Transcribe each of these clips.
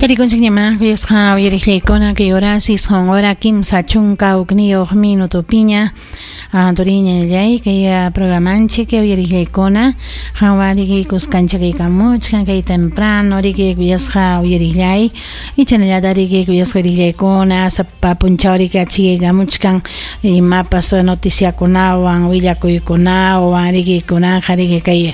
Tarikunchikñamá kuyasqa uyariqllaykuna kay horas 9 hora 31 minutopiña turiñallay kay programanchik uyariqllaykuna qanwan riki kuskanchakaykamuchkan kay temprano riki kuyasqa uyariqllay ichanallata riki kuyasqa uyariqllaykuna sapa punchaw riki achikaykamuchkan imapas noticiakunawan willakuykunawan riki kunanqa riki kay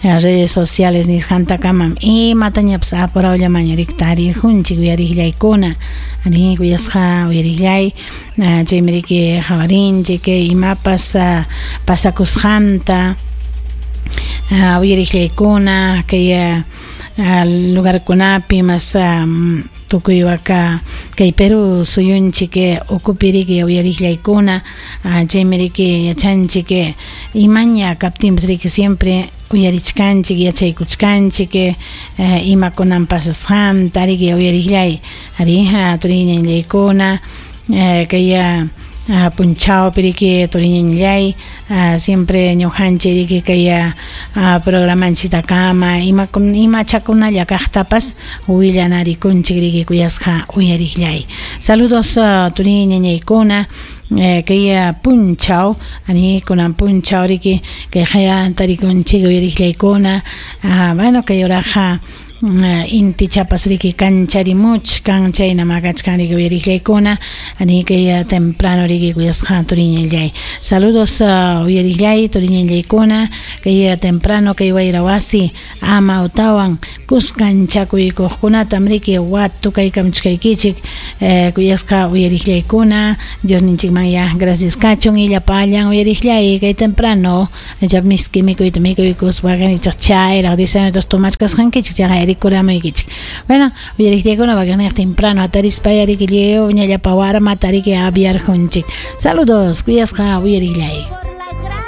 redes sociales nisqantakamam imatañapas apurawllamaña riki tarijunchik uyariqllaykuna ari kuyasqa uyariqllay chaymi riki qawarinchik imapas pasakusqanta uyariqllaykuna kay lugarkunapi mas tukuy waka kay Perú suyunchik ukupi riki uyariqllaykuna chaymi riki yachanchik imaña kaptinpas riki siempre uyarichkanchik yachaykuchkanchik imakunan pasasqanta riki uyariqllay ari turiñallaykuna kay punchawpi riki turiñallay siempre ñuqanchik riki kay programanchiktakama imachakunalla kaqtapas willanarikunchik riki kuyasqa uyariqllay. Saludos turiñañaykuna kay punchaw ani kunan punchaw riki kay qaya tarikunchik uyariqllaykuna bueno kay horaqa intichapas riki kancharimuchkan chayna makachkan riki uyariqllaykuna ani kay temprano riki kuyasqa turiñallay. Saludos uyariqllay turiñallaykuna kay temprano kay wayra wasi amawtawan kuskanchakuykuqkunatam riki watukaykamuchkaykichik kuyasqa uyariqllaykuna Diosninchikman ya gracias kachun illapallan uyariqllay kay temprano icha miski mikuyta mikuykuspa icha chayraq 10 tomachkasqankichik chayqa rikuramuykichik. Bueno, uyariqllaykuna wakiqniq temprano atarispa riki lliw ñallapa warmata riki aviarjunchik. Saludos kuyasqa uyariqllay.